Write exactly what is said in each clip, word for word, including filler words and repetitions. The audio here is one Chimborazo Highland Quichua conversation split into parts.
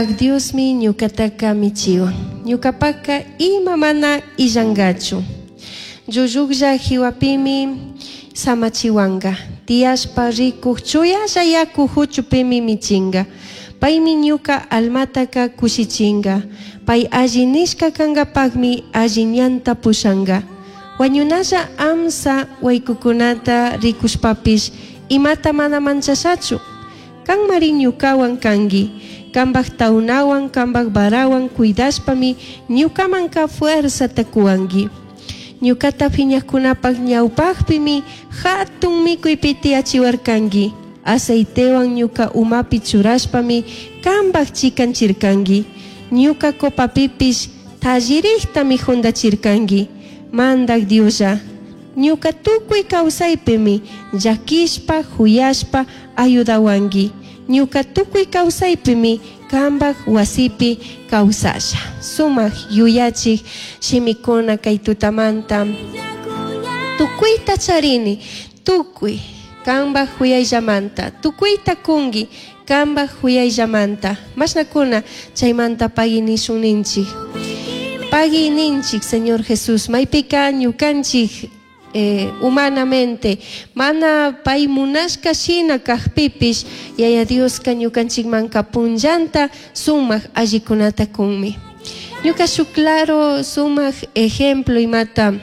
Diosmi ñucataca michiwan. Ñucapaca ima mana illangachu. Llullujlla jiwapimi samachihuanga. Tiyashpa rikuj chuyalla yaku huchupimi michinga. Paymi ñuca almataca kushichinga. Pay alli nishka kangapakmi alli ñanta pushanga. Wañunalla amsa waykukunata rikushpapish imata mana manchashachu. Kanmari ñukawan kanki. Kambaj taunawan, kambaj varawan cuidashpami ñukamanka fuerzata kuwanki. Ñukata phiñajkunapaj ñawpajpimi hatun mikuypi tiyachiwarkanki. Aceitewan ñuka umapi churashpami kambaj chikanchirkanki. Ñuka copapipish tallirijtami jundachirkanki. Mandaj Dioslla, ñuka tukuy kawsaypimi llaquishpa, juyashpa ayudawanki. Ñuka tukuy kawsaypimi kambaj wasipi kawsasha. Sumak yuyachik shimikuna kay tutamanta. Tukuyta charini, tukuy kambaj juyayllamanta, tukuyta kunki kambaj juyayllamanta. Mashnakuna chaymanta pagui nishun ninchik. Pagui ninchik, Señor Jesús, maypika ñukanchik eh, humanamente mana pay munashka shina kajpipish Yaya Dioska ñukanchikmanka punllanta sumak allikunata kunmi. Ñuka shuk claro sumak ejemplo imata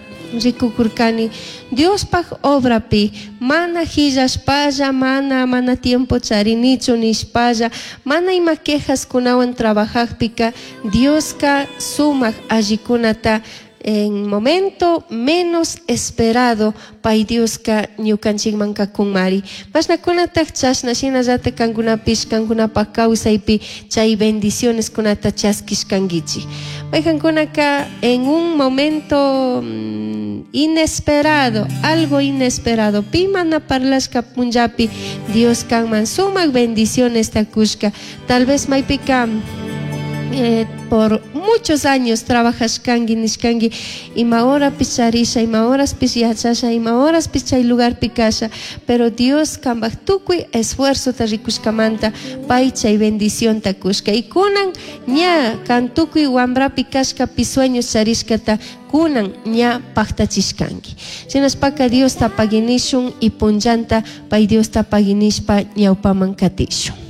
rikukurkani Diospaj obrapi mana hillashpalla mana mana tiempo charinichu nishpalla mana ima quejaskunawan trabajajpika Dioska sumak allikunata en momento menos esperado pay Dioska ñukanchikmanka kunmari. Mashnakunataj chashna shinallatak kankunapish kankunapak kawsaypi chay bendiciones kunata chaskishkankichik. Maykankunaka en un momento mm, inesperado, algo inesperado, pi mana parlashka punllapi Dios kanman sumak bendiciones kushka. Tal vez maypika eh, por muchos años trabajashkanki nishkanki ima horapish charisha ima horaspish yachasha ima horaspish chay lugarpi kasha pero Dios kambaj tukuy esfuerzota rikushkamanta pay chay bendicionta kushka y kunan ña kan tukuy wambrapi kashkapi sueños charishkata kunan ña paktachishkanki shinashpaka Diosta paginishun y punllanta pay Diosta paginishpa ñawpaman katishun.